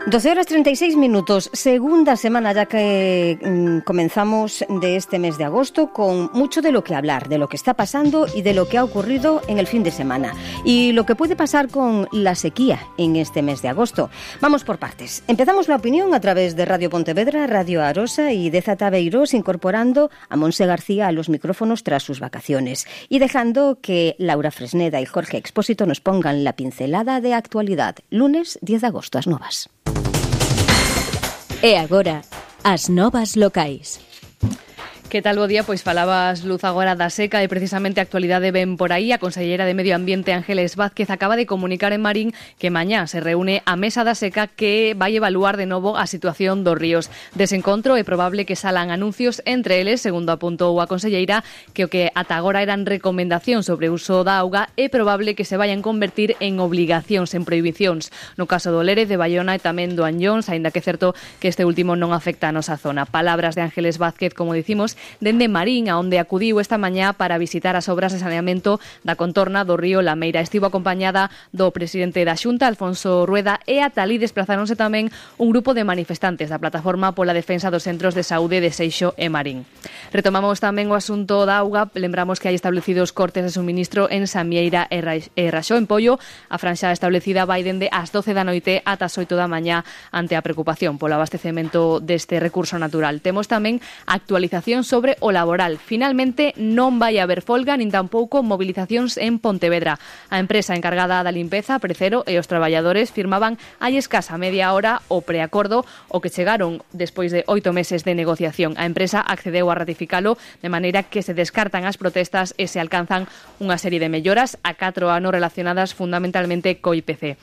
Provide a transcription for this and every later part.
12:36, segunda semana ya que comenzamos de este mes de agosto, con mucho de lo que hablar, de lo que está pasando y de lo que ha ocurrido en el fin de semana y lo que puede pasar con la sequía en este mes de agosto. Vamos por partes. Empezamos la opinión a través de Radio Pontevedra, Radio Arosa y de Zataveiros, incorporando a Monse García a los micrófonos tras sus vacaciones y dejando que Laura Fresneda y Jorge Expósito nos pongan la pincelada de actualidad. Lunes 10 de agosto, as novas. E agora, as novas locais. Que tal, bo día? Pois falabas, Luz, agora da seca e precisamente a actualidade ven por aí. A conselleira de Medio Ambiente, Ángeles Vázquez, acaba de comunicar en Marín que mañá se reúne a mesa da seca que vai evaluar de novo a situación dos ríos. Dese encontro é probable que salan anuncios, entre eles, segundo apuntou a conselleira, que o que ata agora eran recomendacións sobre o uso da auga é probable que se vayan convertir en obligacións, en prohibicións. No caso do Lérez, de Baiona e tamén do Anllóns, aínda que é certo que este último non afecta a nosa zona. Palabras de Ángeles Vázquez, como dicimos, dende Marín, a onde acudiu esta mañá para visitar as obras de saneamento da contorna do río Lameira. Estivo acompañada do presidente da Xunta, Alfonso Rueda, e ata alí desplazáronse tamén un grupo de manifestantes da Plataforma pola Defensa dos Centros de Saúde de Seixo e Marín. Retomamos tamén o asunto da auga. Lembramos que hai establecidos cortes de suministro en Samieira e Raxó, en Pollo. A franxa establecida vai dende as 12 da noite ata as 8 da mañá ante a preocupación polo abastecemento deste recurso natural. Temos tamén actualización sobre o laboral. Finalmente non vai haber folga nin tampouco movilizacións en Pontevedra. A empresa encargada da limpeza, Precero, e os traballadores firmaban hai escasa media hora o preacordo o que chegaron despois de 8 meses de negociación. A empresa accedeu a ratificalo de maneira que se descartan as protestas e se alcanzan unha serie de melloras a 4 anos relacionadas fundamentalmente co IPC.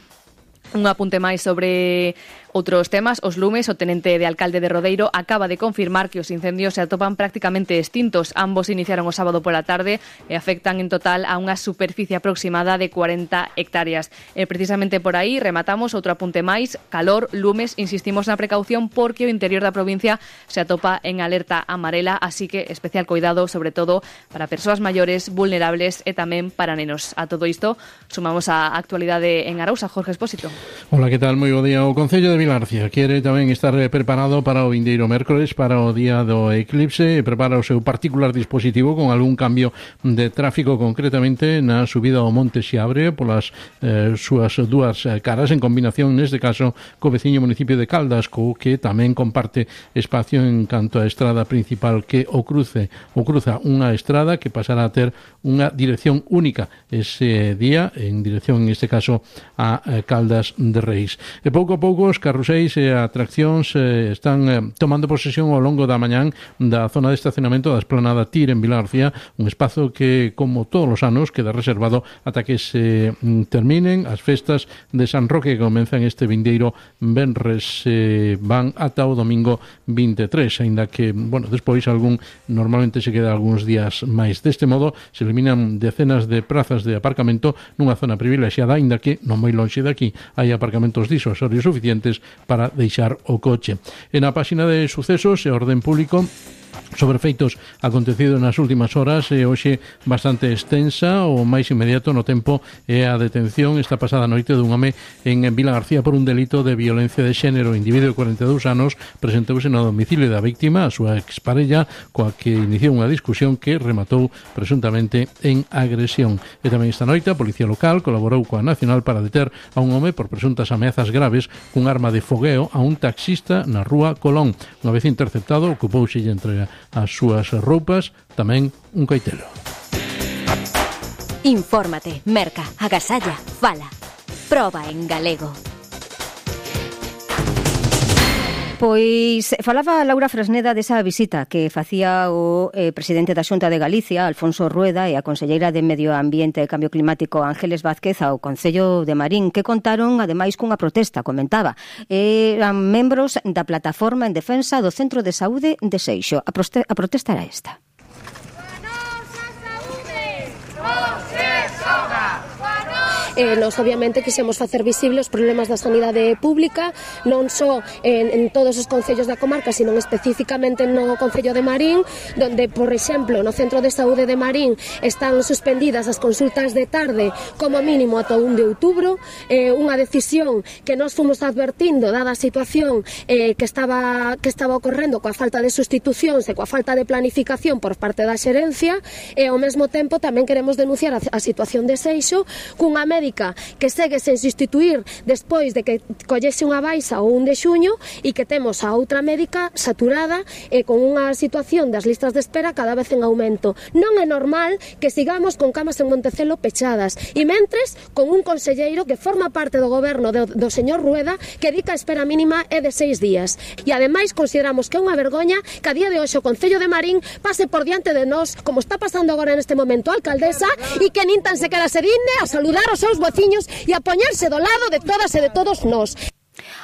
Un apunte máis sobre outros temas. Os lumes, o tenente de alcalde de Rodeiro acaba de confirmar que os incendios se atopan prácticamente extintos. Ambos iniciaron o sábado pola tarde e afectan en total a unha superficie aproximada de 40 hectáreas. Precisamente por aí rematamos outro apunte máis. Calor, lumes, insistimos na precaución porque o interior da provincia se atopa en alerta amarela, así que especial cuidado, sobre todo para persoas maiores, vulnerables e tamén para nenos. A todo isto sumamos a actualidade en Arousa. Jorge Expósito. Hola, que tal? Moi bo día. O Concello de Vilarcia quere tamén estar preparado para o vindeiro mércores, para o día do eclipse, e prepara o seu particular dispositivo con algún cambio de tráfico, concretamente na subida ao Monte Xiabre polas súas dúas caras, en combinación neste caso co veciño municipio de Caldas, co que tamén comparte espacio en canto a estrada principal que o cruza unha estrada que pasará a ter unha dirección única ese día, en dirección en este caso a Caldas de Reis. E pouco a pouco os carruseis e atraccións están tomando posesión ao longo da mañán da zona de estacionamento da Esplanada Tir en Vilarcia, un espazo que, como todos os anos, queda reservado ata que se terminen as festas de San Roque, que comenzan este vindeiro venres, van ata o domingo 23, aínda que, despois normalmente se queda algúns días máis. Deste modo, se eliminan decenas de prazas de aparcamento nunha zona privilexiada, aínda que non moi lonxe daqui hai aparcamentos disuasorios suficientes para deixar o coche. En a páxina de sucesos e orden público sobre feitos acontecidos nas últimas horas e hoxe bastante extensa. O máis inmediato no tempo é a detención esta pasada noite dun home en Vila García por un delito de violencia de xénero. O individuo de 42 anos presentouse no domicilio da víctima, a súa exparella, coa que iniciou unha discusión que rematou presuntamente en agresión. E tamén esta noite a Policía Local colaborou coa Nacional para deter a un home por presuntas ameazas graves cun arma de fogueo a un taxista na rúa Colón. Unha vez interceptado, ocupouse e entrega as súas roupas, tamén un coitelo. Infórmate, merca, agasalla, fala. Proba en galego. Pois falaba Laura Fresneda desa visita que facía o presidente da Xunta de Galicia, Alfonso Rueda, e a conselleira de Medio Ambiente e Cambio Climático, Ángeles Vázquez, ao Concello de Marín, que contaron, ademais, cunha protesta, comentaba. Eran membros da Plataforma en Defensa do Centro de Saúde de Seixo. A protesta era esta. Nos obviamente quixemos facer visible os problemas da sanidade pública, non só en todos os concellos da comarca, sino especificamente no concello de Marín, donde, por exemplo, no Centro de Saúde de Marín están suspendidas as consultas de tarde como mínimo ata 1 de outubro, unha decisión que nós fomos advertindo dada a situación que estaba ocorrendo coa falta de sustitucións e coa falta de planificación por parte da xerencia, e ao mesmo tempo tamén queremos denunciar a situación de Seixo, cunha médica que segue sen sustituir despois de que collese unha baixa o 1 de xuño, e que temos a outra médica saturada e con unha situación das listas de espera cada vez en aumento. Non é normal que sigamos con camas en Montecelo pechadas, e mentres con un conselleiro que forma parte do goberno do señor Rueda que di que a espera mínima é de 6 días. E ademais consideramos que é unha vergoña que a día de hoxe o Concello de Marín pase por diante de nós, como está pasando agora neste momento a alcaldesa, e que nin tan sequera se digne a saludar os seus veciños e a poñerse do lado de todas e de todos nós.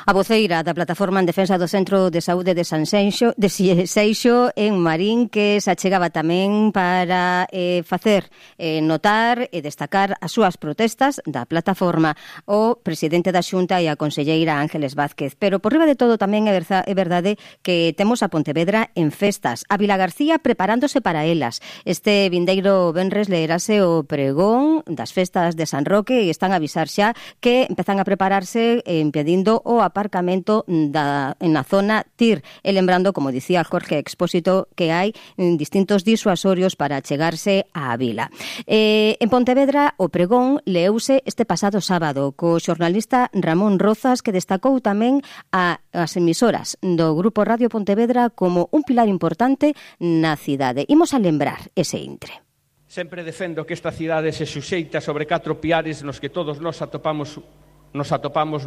A voceira da Plataforma en Defensa do Centro de Saúde de Seixo en Marín, que se achegaba tamén para facer notar e destacar as súas protestas da plataforma, o presidente da Xunta e a conselleira Ángeles Vázquez. Pero por riba de todo tamén é verdade que temos a Pontevedra en festas, a Vilagarcía preparándose para elas. Este vindeiro venres leerase o pregón das festas de San Roque e están a avisar xa que empezan a prepararse impedindo o aparcamento na zona TIR, e lembrando, como dicía Jorge Expósito, que hai distintos disuasorios para chegarse á vila. En Pontevedra o pregón leouse este pasado sábado co xornalista Ramón Rozas, que destacou tamén as emisoras do Grupo Radio Pontevedra como un pilar importante na cidade. Imos a lembrar ese intre. Sempre defendo que esta cidade se suxeita sobre 4 piares nos que todos nos atopamos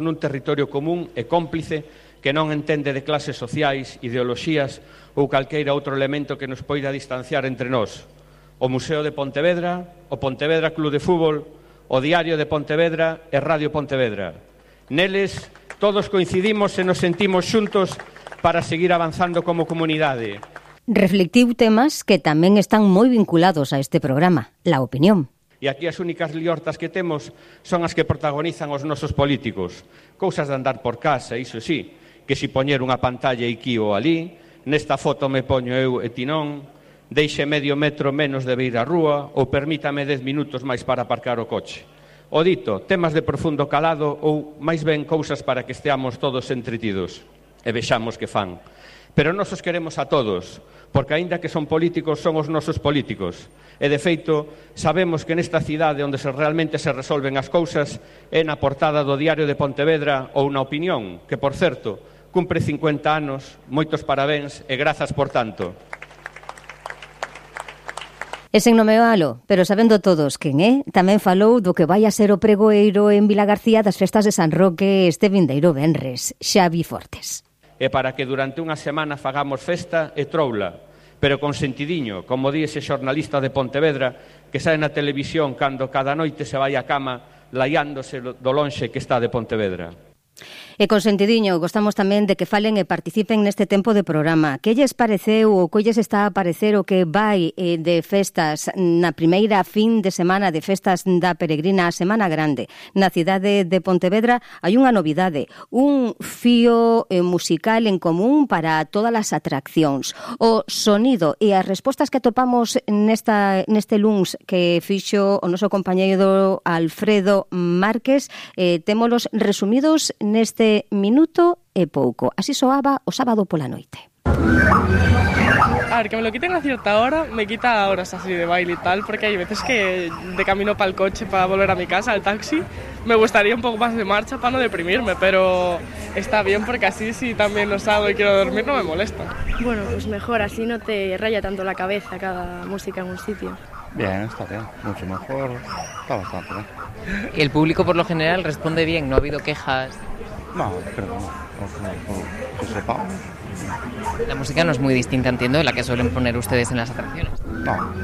nun territorio común e cómplice que non entende de clases sociais, ideoloxías ou calqueira outro elemento que nos poida distanciar entre nós. O Museo de Pontevedra, o Pontevedra Club de Fútbol, o Diario de Pontevedra e Radio Pontevedra. Neles todos coincidimos e nos sentimos xuntos para seguir avanzando como comunidade. Reflectiu temas que tamén están moi vinculados a este programa, la opinión. E aquí as únicas liortas que temos son as que protagonizan os nosos políticos. Cousas de andar por casa, iso sí, que si poñer unha pantalla aquí ou ali, nesta foto me poño eu e ti non, deixe medio metro menos de beira a rúa ou permítame 10 minutos máis para aparcar o coche. O dito, temas de profundo calado ou máis ben cousas para que esteamos todos entretidos e vexamos que fan. Pero nós os queremos a todos, porque aínda que son políticos, son os nosos políticos. E, de feito, sabemos que nesta cidade onde realmente se resolven as cousas é na portada do Diario de Pontevedra ou na Opinión, que, por certo, cumpre 50 anos, moitos parabéns e grazas por tanto. E sen nomealo, pero sabendo todos quen é, tamén falou do que vai a ser o pregoeiro en Vilagarcía das festas de San Roque este vindeiro venres, Xavi Fortes. E para que durante unha semana fagamos festa e troula, pero con sentidiño, como di ese xornalista de Pontevedra que sae na televisión cando cada noite se vai á cama laiándose do lonxe que está de Pontevedra. E con sentidiño, gostamos tamén de que falen e participen neste tempo de programa. Que lles pareceu ou que lles está a parecer o que vai de festas na primeira fin de semana de festas da peregrina a Semana Grande? Na cidade de Pontevedra hai unha novidade, un fío musical en común para todas as atraccións. O sonido e as respostas que atopamos neste luns que fixo o noso compañeiro Alfredo Márquez, témolos resumidos neste minuto e pouco. Así soaba o sábado pola noite. A ver, que me lo quiten a cierta hora, me quita horas así de baile y tal, porque hay veces que de camino para el coche, para volver a mi casa, al taxi, me gustaría un poco más de marcha para no deprimirme, pero está bien porque así si también no salgo y quiero dormir no me molesta. Bueno, pues mejor, así no te raya tanto la cabeza cada música en un sitio. Bien, está bien, mucho mejor, está bastante bien. El público por lo general responde bien, no ha habido quejas. No, creo que no, que sepa. La música no es muy distinta, entiendo, de la que suelen poner ustedes en las atracciones. No.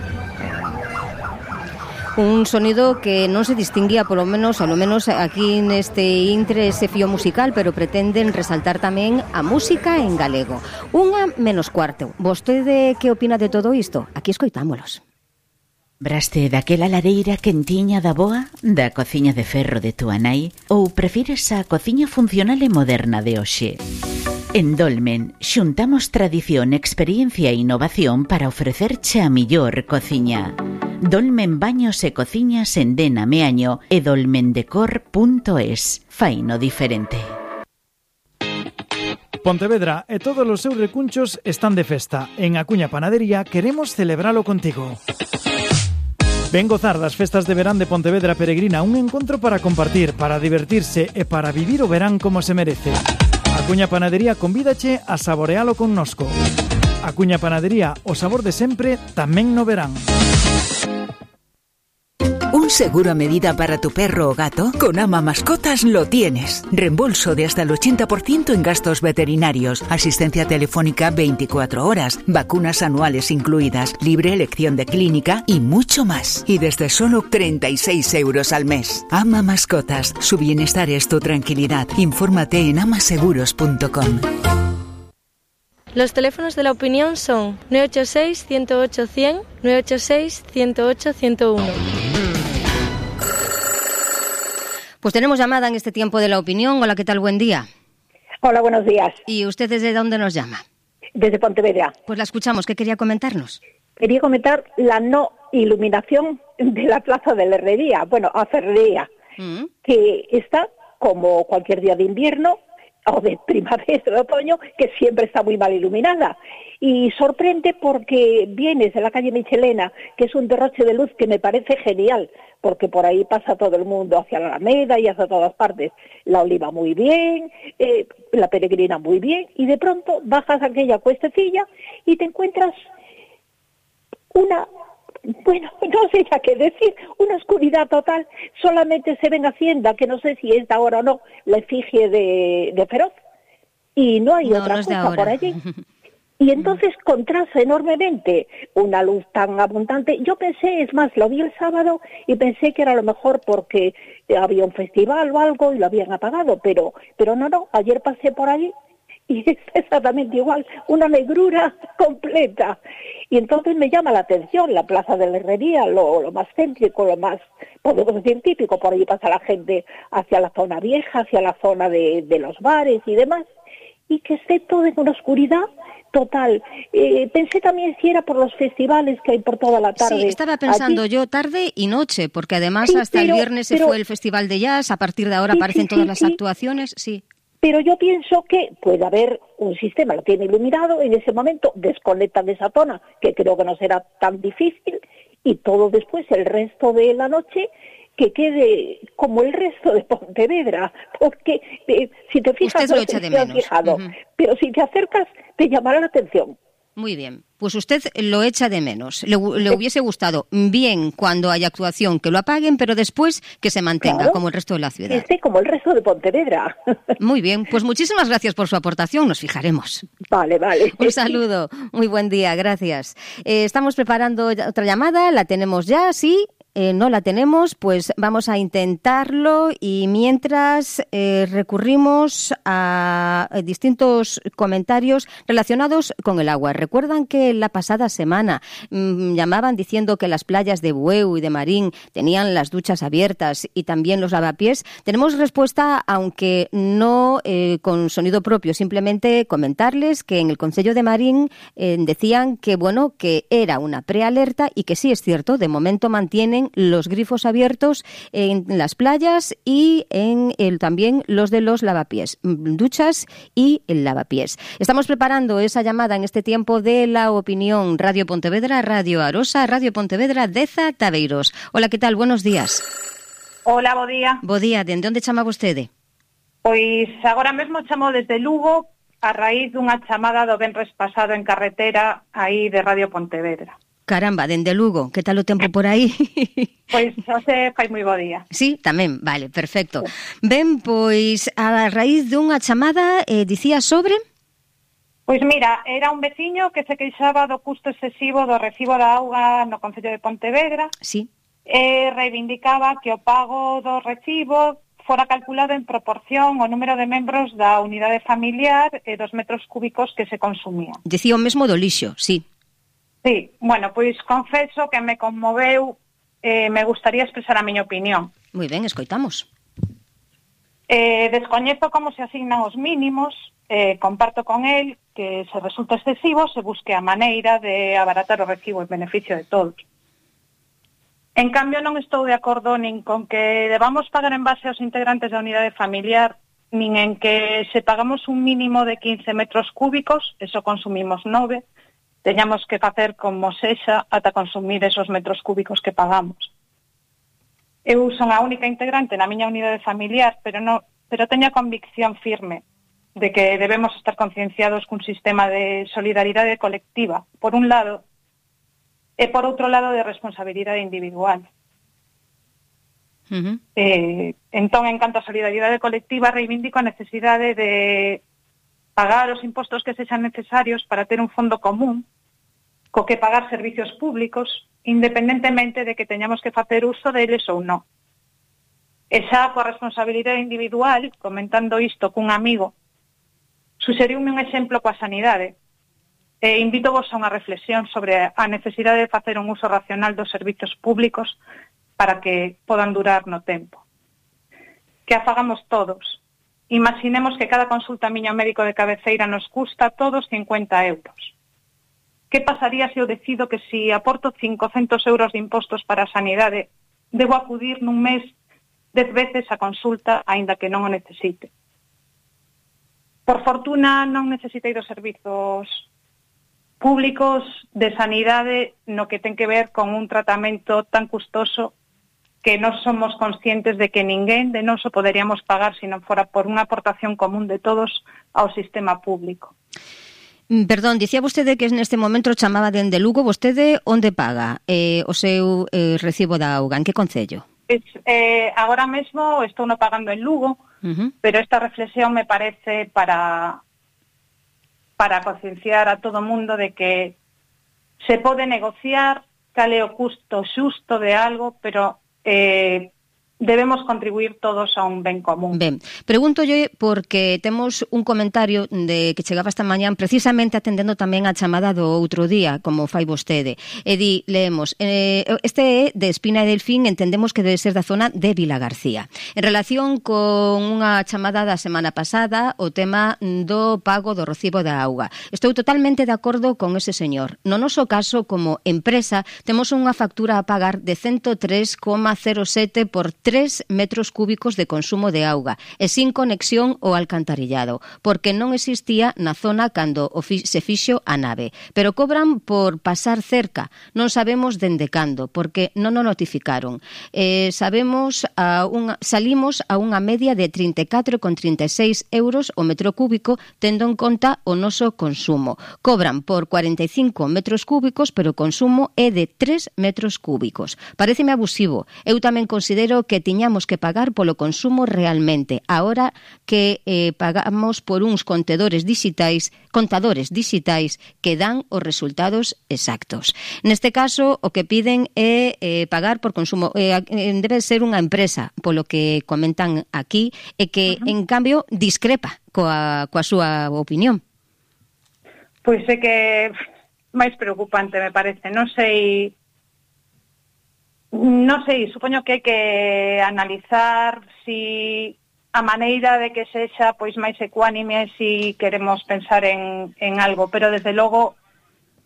Un sonido que non se distinguía, polo menos aquí neste intre, ese fío musical, pero pretenden resaltar tamén a música en galego. 1:45. Vostede que opina de todo isto? Aquí escoitámolos. Braste daquela lareira quentiña da boa, da cociña de ferro de túa nai, ou prefires a cociña funcional e moderna de hoxe? En Dolmen xuntamos tradición, experiencia e innovación para ofrecerche a millor cociña. Dolmen Baños e Cociñas en Dena Meaño e dolmendecor.es. Faino diferente. Pontevedra e todos os seus recunchos están de festa. En Acuña Panadería queremos celebralo contigo. Ven gozar das festas de verán de Pontevedra Peregrina, un encontro para compartir, para divertirse e para vivir o verán como se merece. Acuña Panadería convídache a saborealo connosco. Acuña Panadería, o sabor de sempre, tamén no verán. ¿Un seguro a medida para tu perro o gato? Con Ama Mascotas lo tienes. Reembolso de hasta el 80% en gastos veterinarios, asistencia telefónica 24 horas, vacunas anuales incluidas, libre elección de clínica y mucho más. Y desde solo 36 euros al mes. Ama Mascotas. Su bienestar es tu tranquilidad. Infórmate en amaseguros.com. Los teléfonos de la opinión son 986 108 100, 986 108 101. Pues tenemos llamada en este tiempo de la opinión. Hola, ¿qué tal? Buen día. Hola, buenos días. ¿Y usted desde dónde nos llama? Desde Pontevedra. Pues la escuchamos. ¿Qué quería comentarnos? Quería comentar la no iluminación de la Plaza de la Herrería, bueno, a Ferrería, que está como cualquier día de invierno o de primavera, de otoño, que siempre está muy mal iluminada. Y sorprende porque vienes de la calle Michelena, que es un derroche de luz que me parece genial, porque por ahí pasa todo el mundo hacia la Alameda y hacia todas partes. La Oliva muy bien, la Peregrina muy bien, y de pronto bajas aquella cuestecilla y te encuentras una... Bueno, no sé ya qué decir, una oscuridad total. Solamente se ven Hacienda, que no sé si es de ahora o no, la efigie de Feroz, y no hay otra cosa por allí. Y entonces contrasta enormemente una luz tan abundante. Yo pensé, es más, lo vi el sábado y pensé que era a lo mejor porque había un festival o algo y lo habían apagado, pero no, ayer pasé por allí y es exactamente igual, una negrura completa. Y entonces me llama la atención la Plaza de la Herrería, lo más céntrico, lo más, podemos decir, típico. Por ahí pasa la gente hacia la zona vieja, hacia la zona de los bares y demás, y que esté todo en una oscuridad total. Pensé también si era por los festivales que hay por toda la tarde. Sí, estaba pensando yo tarde y noche, porque además hasta el viernes se fue el Festival de Jazz, a partir de ahora aparecen todas las actuaciones, sí. Pero yo pienso que puede haber un sistema, lo tiene iluminado, en ese momento desconectan de esa zona, que creo que no será tan difícil, y todo después, el resto de la noche, que quede como el resto de Pontevedra, porque si te fijas, usted lo echa de menos. Fijado, pero si te acercas, te llamará la atención. Muy bien, pues usted lo echa de menos. Le hubiese gustado bien cuando haya actuación que lo apaguen, pero después que se mantenga, claro, como el resto de la ciudad. Como el resto de Pontevedra. Muy bien, pues muchísimas gracias por su aportación, nos fijaremos. Vale. Un saludo, muy buen día, gracias. Estamos preparando otra llamada, la tenemos ya, sí. No la tenemos, pues vamos a intentarlo, y mientras recurrimos a distintos comentarios relacionados con el agua. Recuerdan que la pasada semana llamaban diciendo que las playas de Bueu y de Marín tenían las duchas abiertas y también los lavapiés. Tenemos respuesta, aunque no con sonido propio, simplemente comentarles que en el Concello de Marín decían que bueno, que era una prealerta y que sí es cierto, de momento mantienen los grifos abiertos en las playas y en también los de los lavapiés, duchas y el lavapiés. Estamos preparando esa llamada en este tiempo de la opinión. Radio Pontevedra, Radio Arosa, Radio Pontevedra, Deza, Tabeiros. Hola, ¿qué tal? Buenos días. Hola, bo día. Bo día, de onde chamaba vostede? Pois agora mesmo chamo desde Lugo a raíz dunha chamada do venres pasado en carretera aí de Radio Pontevedra. Caramba, dende Lugo, que tal o tempo por aí? Pois hoxe fai moi bo día. Sí, tamén, vale, perfecto. Ben, pois a raíz dunha chamada dicía sobre... Pois mira, era un veciño que se queixaba do custo excesivo do recibo da auga no Concello de Pontevedra. Sí. E reivindicaba que o pago do recibo fora calculado en proporción ao número de membros da unidade familiar e dos metros cúbicos que se consumían. Decía o mesmo do lixo, sí. Sí, bueno, pois confeso que me conmoveu, me gustaría expresar a miña opinión. Moi ben, escoitamos. Descoñezo como se asignan os mínimos, comparto con el que se resulta excesivo se busque a maneira de abaratar o recibo en beneficio de todos. En cambio, non estou de acordo nin con que debamos pagar en base aos integrantes da unidade familiar, nin en que se pagamos un mínimo de 15 metros cúbicos, eso consumimos 9, teñamos que facer como sexa ata consumir esos metros cúbicos que pagamos. Eu son a única integrante na miña unidade familiar, pero teño a convicción firme de que debemos estar concienciados cun sistema de solidaridade colectiva, por un lado, e por outro lado de responsabilidade individual. Entón, en canto a solidaridade colectiva, reivindico a necesidade de pagar os impostos que sexan necesarios para ter un fondo común, co que pagar servicios públicos, independentemente de que teñamos que facer uso deles ou non. E xa coa responsabilidade individual, comentando isto cun amigo, suxeriume un exemplo coa sanidade. E invítovos a unha reflexión sobre a necesidade de facer un uso racional dos servizos públicos para que podan durar no tempo. Que a fagamos todos. Imaginemos que cada consulta miña ao médico de cabeceira nos custa todos 50 euros. Que pasaría se eu decido que se aporto 500 euros de impostos para a sanidade, debo acudir nun mes 10 veces a consulta, aínda que non o necesite? Por fortuna, non necesitei dos servizos públicos de sanidade no que ten que ver con un tratamento tan custoso que non somos conscientes de que ninguén de nós o poderíamos pagar se non fora por unha aportación común de todos ao sistema público. Perdón, dicía vostede que neste momento chamaba dende Lugo. Vostede onde paga o seu recibo da auga? En que concello? Agora mesmo estou no pagando en Lugo, pero esta reflexión me parece para concienciar a todo o mundo de que se pode negociar cal é o custo xusto de algo, pero debemos contribuir todos a un ben común. Ben, pregúntolle porque temos un comentario de que chegaba esta mañán precisamente atendendo tamén a chamada do outro día, como fai vostede. E leemos, este é de Espina e Delfín, entendemos que debe ser da zona de Vilagarcía. En relación con unha chamada da semana pasada, o tema do pago do recibo da auga. Estou totalmente de acordo con ese señor. No noso caso, como empresa, temos unha factura a pagar de 103,07 por 3 metros cúbicos de consumo de auga e sin conexión ao alcantarillado, porque non existía na zona cando se fixo a nave. Pero cobran por pasar cerca, non sabemos dende cando, porque non o notificaron. Salimos a unha media de 34,36 euros o metro cúbico, tendo en conta o noso consumo. Cobran por 45 metros cúbicos, pero o consumo é de 3 metros cúbicos. Paréceme abusivo. Eu tamén considero que tiñamos que pagar polo consumo realmente, ahora que pagamos por uns contadores digitais que dan os resultados exactos. Neste caso, o que piden é pagar por consumo. Debe ser unha empresa, polo que comentan aquí, e que, en cambio, discrepa coa súa opinión. Pois é que máis preocupante, me parece. Non sei, supoño que hai que analizar si a maneira de que sexa pois máis ecuánime si queremos pensar en algo, pero desde logo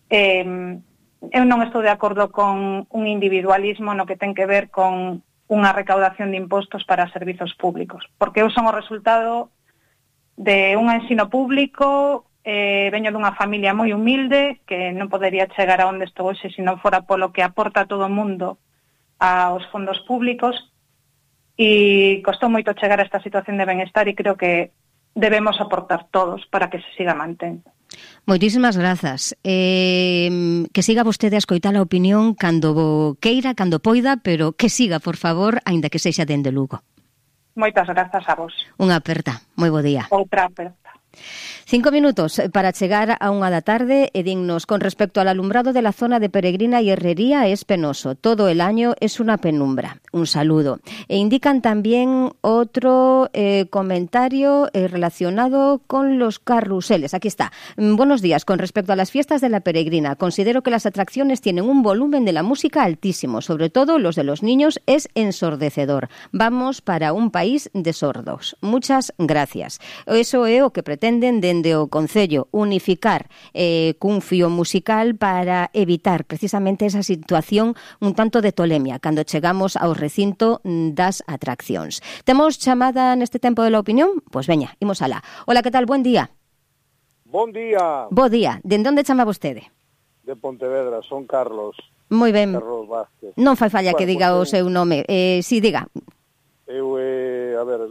eu non estou de acordo con un individualismo no que ten que ver con unha recaudación de impostos para servizos públicos, porque eu son o resultado de un ensino público, veño dunha familia moi humilde que non podería chegar a onde estou hoxe se non fora polo que aporta todo o mundo aos fondos públicos, e costou moito chegar a esta situación de benestar e creo que debemos aportar todos para que se siga mantendo. Moitísimas grazas. Que siga vostede a escoitar a opinión cando queira, cando poida, pero que siga, por favor, aínda que sexa dende Lugo. Moitas grazas a vos. Unha aperta. Moi bo día. Outra aperta. 5 minutos para chegar a 1 da tarde e dignos. Con respecto al alumbrado de la zona de Peregrina y Herrería es penoso. Todo el año es una penumbra. Un saludo. E indican también otro comentario relacionado con los carruseles. Aquí está. Buenos días. Con respecto a las fiestas de la Peregrina, considero que las atracciones tienen un volumen de la música altísimo. Sobre todo los de los niños es ensordecedor. Vamos para un país de sordos. Muchas gracias. Eso é o que pretenden dende o Concello, unificar cun fío musical para evitar precisamente esa situación un tanto de tolemia cando chegamos ao recinto das atraccións. Temos chamada neste tempo de la opinión? Pois veña, imos alá. Hola, que tal? Buen día. Bon día. Bo día. De onde chama vostede? De Pontevedra, son Carlos. Moi ben. Carlos Vázquez. Non fai falla que diga o seu nome. Si, diga. Eu,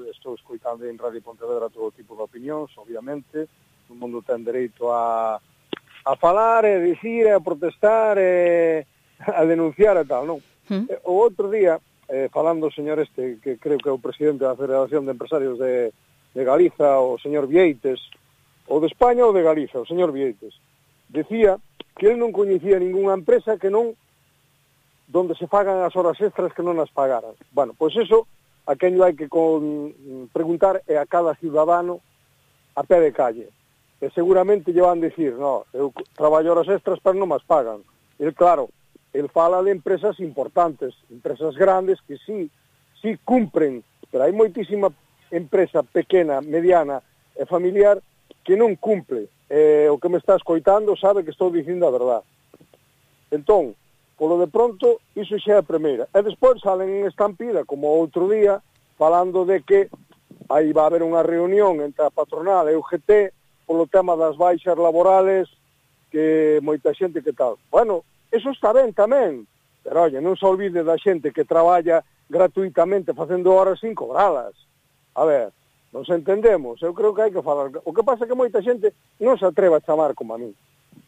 estou escoitando en Radio Pontevedra todo tipo de opinións, obviamente. O mundo ten dereito a falar, a dicir, a protestar, a denunciar e tal, non? O outro día, falando o señor que creo que é o presidente da Federación de Empresarios de Galiza, o señor Vieites, ou de España ou de Galiza, o señor Vieites, decía que ele non coñecía ninguna empresa que non, donde se pagan as horas extras que non as pagaran. Bueno, pois eso, a quen hai que preguntar é a cada ciudadano a pé de calle. E seguramente lle van dicir, no, eu traballo horas extras pero non as pagan. E claro, el fala de empresas importantes, empresas grandes que sí cumpren, pero hai moitísima empresa pequena, mediana e familiar que non cumple. O que me está escoitando sabe que estou dicindo a verdade. Entón, polo de pronto, iso xa é a primeira. E despois salen en estampida, como outro día, falando de que aí va a haber unha reunión entre a patronal e o UGT polo tema das baixas laborales, que moita xente que tal. Bueno, eso está ben tamén, pero, oye, non se olvide da xente que traballa gratuitamente facendo horas sin cobralas. A ver, nos entendemos, eu creo que hai que falar. O que pasa é que moita xente non se atreve a chamar como a mí.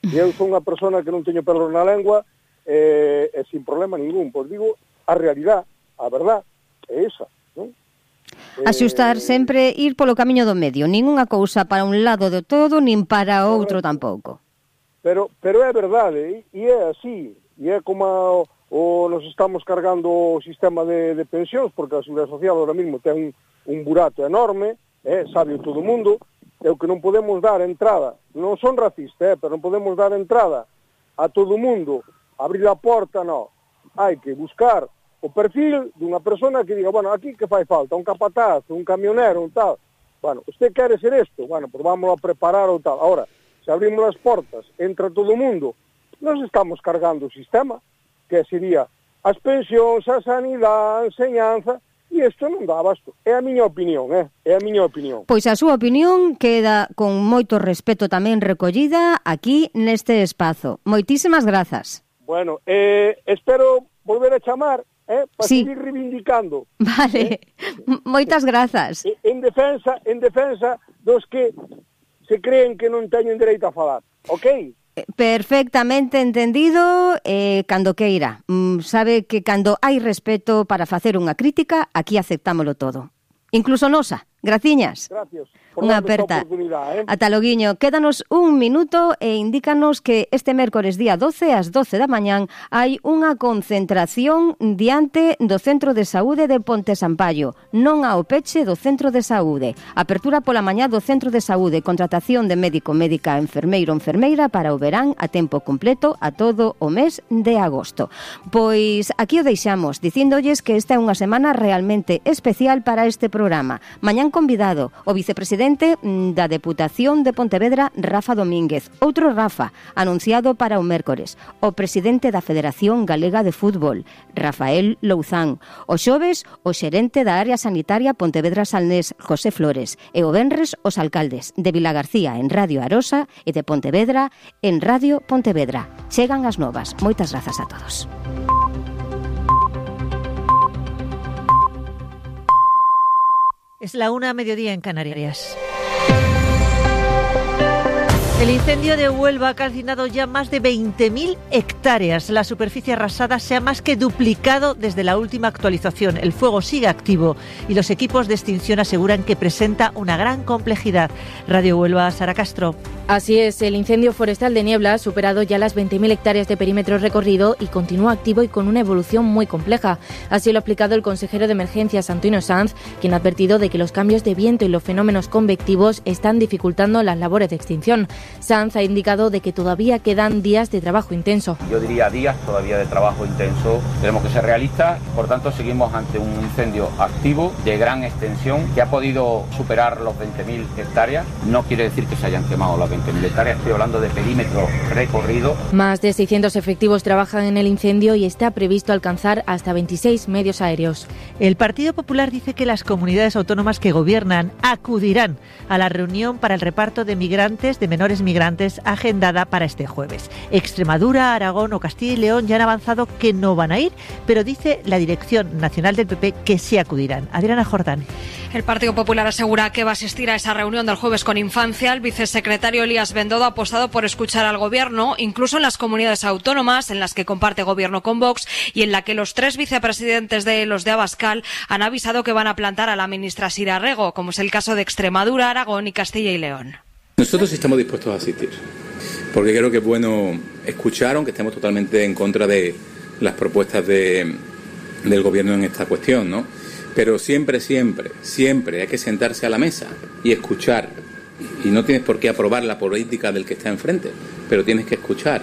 E eu sou unha persona que non teño pelos na lengua, e sin problema ningún, pois digo a realidade, a verdade é esa, non? Axustar sempre, ir polo camiño do medio, nin unha cousa para un lado do todo, nin para outro tampouco. Pero é verdade, e é así, e é como nos estamos cargando o sistema de pensións, porque a Seguridade Social ahora mismo ten un burato enorme, sabe todo o mundo, e o que non podemos dar entrada, non son racistas, pero non podemos dar entrada a todo o mundo, abrir a porta, non. Hai que buscar o perfil dunha persona que diga, bueno, aquí que fai falta? Un capataz, un camionero, un tal. Bueno, usted quere ser isto? Bueno, pues vamos a preparar o tal. Ahora, se abrimos as portas, entra todo o mundo, nos estamos cargando o sistema, que sería as pensións, a sanidade, a enseñanza, e isto non dá abasto. É a miña opinión, é a miña opinión. Pois a súa opinión queda con moito respeto tamén recollida aquí neste espazo. Moitísimas grazas. Bueno, espero volver a chamar, para seguir reivindicando. Vale, moitas grazas. En defensa dos que se creen que non teñen dereito a falar, ok? Perfectamente entendido, cando queira. Sabe que cando hai respeto para facer unha crítica, aquí aceptámolo todo. Incluso nosa. Graciñas. Gracias. Unha aperta. Ata loguiño. Quédanos un minuto e indícanos que este mércores día 12 ás 12 da mañán hai unha concentración diante do Centro de Saúde de Ponte Sampaio, non ao peche do Centro de Saúde. Apertura pola mañá do Centro de Saúde, contratación de médico, médica, enfermeiro, enfermeira para o verán a tempo completo a todo o mes de agosto. Pois aquí o deixamos, dicíndolles que esta é unha semana realmente especial para este programa. Mañán convidado o vicepresidente da Deputación de Pontevedra, Rafa Domínguez. Outro Rafa, anunciado para o mércores. O presidente da Federación Galega de Fútbol, Rafael Louzán. O xoves, o xerente da área sanitaria Pontevedra Salnés, José Flores. E o venres, os alcaldes de Vilagarcía en Radio Arosa e de Pontevedra en Radio Pontevedra. Chegan as novas. Moitas grazas a todos. Es la 1:00 en Canarias. El incendio de Huelva ha calcinado ya más de 20.000 hectáreas. La superficie arrasada se ha más que duplicado desde la última actualización. El fuego sigue activo y los equipos de extinción aseguran que presenta una gran complejidad. Radio Huelva, Sara Castro. Así es, el incendio forestal de Niebla ha superado ya las 20.000 hectáreas de perímetro recorrido y continúa activo y con una evolución muy compleja. Así lo ha explicado el consejero de Emergencias, Antonio Sanz, quien ha advertido de que los cambios de viento y los fenómenos convectivos están dificultando las labores de extinción. Sanz ha indicado de que todavía quedan días de trabajo intenso. Yo diría días todavía de trabajo intenso. Tenemos que ser realistas, por tanto seguimos ante un incendio activo de gran extensión que ha podido superar los 20.000 hectáreas. No quiere decir que se hayan quemado las 20.000 hectáreas, estoy hablando de perímetro recorrido. Más de 600 efectivos trabajan en el incendio y está previsto alcanzar hasta 26 medios aéreos. El Partido Popular dice que las comunidades autónomas que gobiernan acudirán a la reunión para el reparto de migrantes, de menores migrantes, agendada para este jueves. Extremadura, Aragón o Castilla y León ya han avanzado que no van a ir, pero dice la Dirección Nacional del PP que sí acudirán. Adriana Jordán. El Partido Popular asegura que va a asistir a esa reunión del jueves con Infancia. El vicesecretario Elías Bendodo ha apostado por escuchar al Gobierno, incluso en las comunidades autónomas en las que comparte Gobierno con Vox y en la que los 3 vicepresidentes de los de Abascal han avisado que van a plantar a la ministra Sira Rego, como es el caso de Extremadura, Aragón y Castilla y León. Nosotros estamos dispuestos a asistir, porque creo que es bueno escuchar, aunque estemos totalmente en contra de las propuestas del Gobierno en esta cuestión, ¿no? Pero siempre hay que sentarse a la mesa y escuchar. Y no tienes por qué aprobar la política del que está enfrente, pero tienes que escuchar.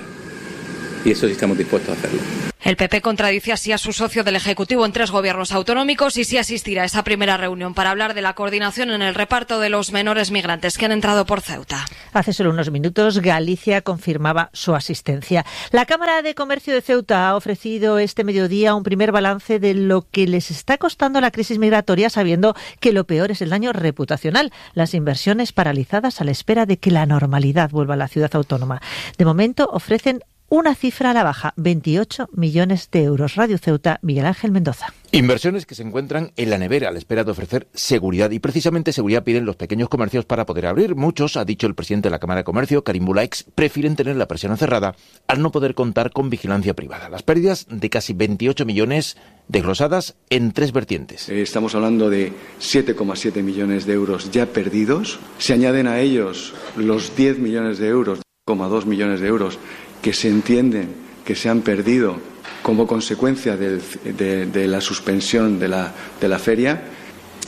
Y eso sí estamos dispuestos a hacerlo. El PP contradice así a su socio del Ejecutivo en 3 gobiernos autonómicos y sí asistirá a esa primera reunión para hablar de la coordinación en el reparto de los menores migrantes que han entrado por Ceuta. Hace solo unos minutos Galicia confirmaba su asistencia. La Cámara de Comercio de Ceuta ha ofrecido este mediodía un primer balance de lo que les está costando la crisis migratoria, sabiendo que lo peor es el daño reputacional, las inversiones paralizadas a la espera de que la normalidad vuelva a la ciudad autónoma. De momento ofrecen una cifra a la baja, 28 millones de euros. Radio Ceuta, Miguel Ángel Mendoza. Inversiones que se encuentran en la nevera a la espera de ofrecer seguridad, y precisamente seguridad piden los pequeños comercios para poder abrir. Muchos, ha dicho el presidente de la Cámara de Comercio, Karim Bulaix, prefieren tener la persiana cerrada al no poder contar con vigilancia privada. Las pérdidas de casi 28 millones desglosadas en 3 vertientes. Estamos hablando de 7,7 millones de euros ya perdidos. Se añaden a ellos los 10 millones de euros, 2,2 millones de euros que se entienden que se han perdido como consecuencia de la suspensión de la feria,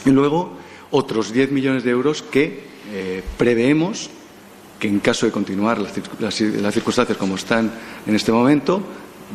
y luego otros 10 millones de euros que preveemos que, en caso de continuar las circunstancias como están en este momento,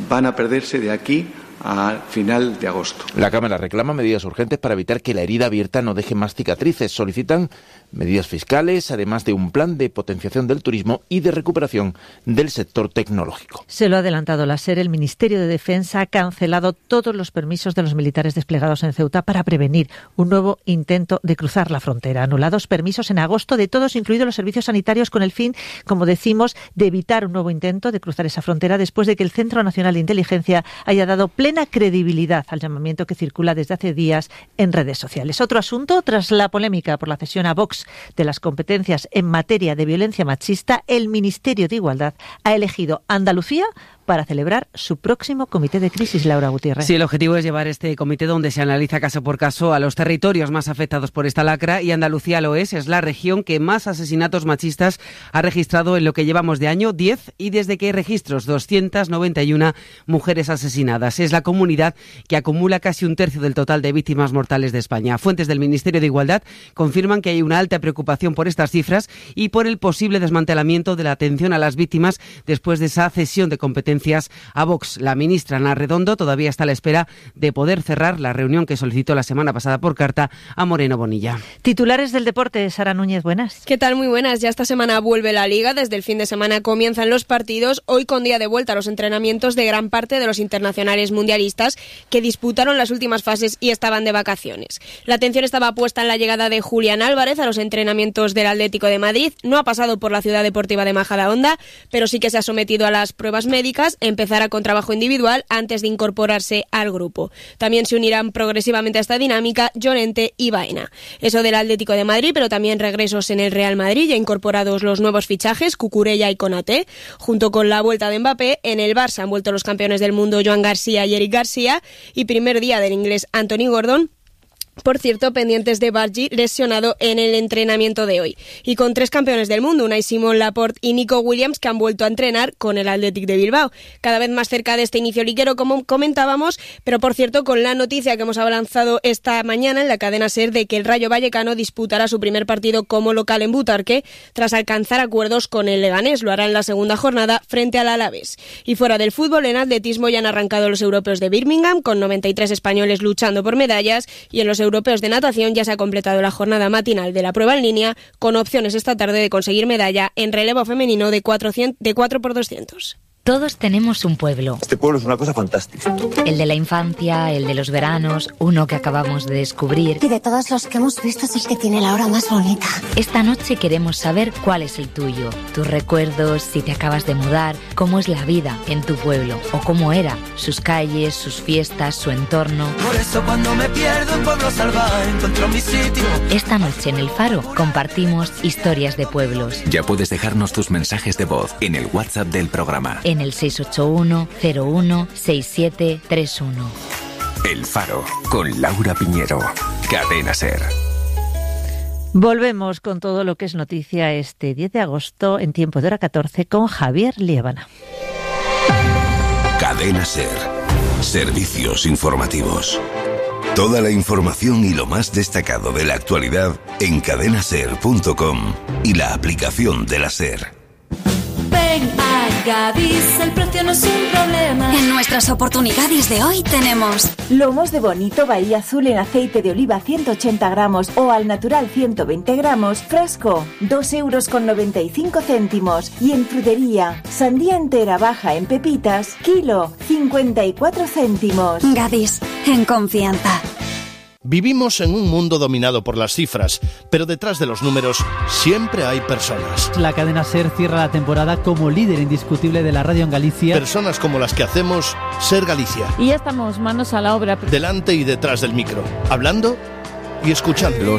van a perderse de aquí a final de agosto. La Cámara reclama medidas urgentes para evitar que la herida abierta no deje más cicatrices. Solicitan medidas fiscales, además de un plan de potenciación del turismo y de recuperación del sector tecnológico. Se lo ha adelantado la SER. El Ministerio de Defensa ha cancelado todos los permisos de los militares desplegados en Ceuta para prevenir un nuevo intento de cruzar la frontera. Anulados permisos en agosto de todos, incluidos los servicios sanitarios, con el fin, como decimos, de evitar un nuevo intento de cruzar esa frontera después de que el Centro Nacional de Inteligencia haya dado plena credibilidad al llamamiento que circula desde hace días en redes sociales. Otro asunto, tras la polémica por la cesión a Vox de las competencias en materia de violencia machista, el Ministerio de Igualdad ha elegido Andalucía para celebrar su próximo comité de crisis, Laura Gutiérrez. Sí, el objetivo es llevar este comité donde se analiza caso por caso a los territorios más afectados por esta lacra, y Andalucía lo es la región que más asesinatos machistas ha registrado en lo que llevamos de año, 10, y desde que hay registros, 291 mujeres asesinadas. Es la comunidad que acumula casi un tercio del total de víctimas mortales de España. Fuentes del Ministerio de Igualdad confirman que hay una alta preocupación por estas cifras y por el posible desmantelamiento de la atención a las víctimas después de esa cesión de competencias a Vox. La ministra Ana Redondo todavía está a la espera de poder cerrar la reunión que solicitó la semana pasada por carta a Moreno Bonilla. Titulares del deporte, Sara Núñez, buenas. ¿Qué tal? Muy buenas. Ya esta semana vuelve la Liga. Desde el fin de semana comienzan los partidos. Hoy con día de vuelta a los entrenamientos de gran parte de los internacionales mundialistas que disputaron las últimas fases y estaban de vacaciones. La atención estaba puesta en la llegada de Julián Álvarez a los entrenamientos del Atlético de Madrid. No ha pasado por la Ciudad Deportiva de Majadahonda, pero sí que se ha sometido a las pruebas médicas Rivas empezará con trabajo individual antes de incorporarse al grupo. También se unirán progresivamente a esta dinámica Llorente y Baena. Eso del Atlético de Madrid, pero también regresos en el Real Madrid, ya incorporados los nuevos fichajes, Cucurella y Konaté, junto con la vuelta de Mbappé. En el Barça han vuelto los campeones del mundo Joan García y Eric García, y primer día del inglés Anthony Gordon. Por cierto, pendientes de Bargi, lesionado en el entrenamiento de hoy. Y con 3 campeones del mundo, Unai Simón, Laporte y Nico Williams, que han vuelto a entrenar con el Athletic de Bilbao. Cada vez más cerca de este inicio liguero, como comentábamos, pero por cierto, con la noticia que hemos avanzado esta mañana en la cadena SER de que el Rayo Vallecano disputará su primer partido como local en Butarque, tras alcanzar acuerdos con el Leganés. Lo hará en la segunda jornada frente al Alavés. Y fuera del fútbol, en atletismo ya han arrancado los europeos de Birmingham, con 93 españoles luchando por medallas, y en los europeos de natación ya se ha completado la jornada matinal de la prueba en línea, con opciones esta tarde de conseguir medalla en relevo femenino de 4x200. Todos tenemos un pueblo. Este pueblo es una cosa fantástica. El de la infancia, el de los veranos, uno que acabamos de descubrir. Y de todos los que hemos visto es el que tiene la hora más bonita. Esta noche queremos saber cuál es el tuyo. Tus recuerdos, si te acabas de mudar, cómo es la vida en tu pueblo o cómo era, sus calles, sus fiestas, su entorno. Por eso cuando me pierdo en Pueblo Salvaje encuentro mi sitio. Esta noche en El Faro compartimos historias de pueblos. Ya puedes dejarnos tus mensajes de voz en el WhatsApp del programa. En el 681-01-6731. El Faro, con Laura Piñero. Cadena SER. Volvemos con todo lo que es noticia este 10 de agosto en tiempo de hora 14 con Javier Liébana. Cadena SER. Servicios informativos. Toda la información y lo más destacado de la actualidad en cadenaser.com y la aplicación de la SER. Ven a Gadis, el precio no es un problema. En nuestras oportunidades de hoy tenemos lomos de bonito Bahía Azul en aceite de oliva 180 gramos o al natural 120 gramos, frasco, 2,95 €. Y en frutería, sandía entera baja en pepitas, kilo, 54 céntimos. Gadis, en confianza. Vivimos en un mundo dominado por las cifras, pero detrás de los números siempre hay personas. La cadena SER cierra la temporada como líder indiscutible de la radio en Galicia. Personas como las que hacemos SER Galicia. Y ya estamos manos a la obra. Delante y detrás del micro, hablando y escuchando.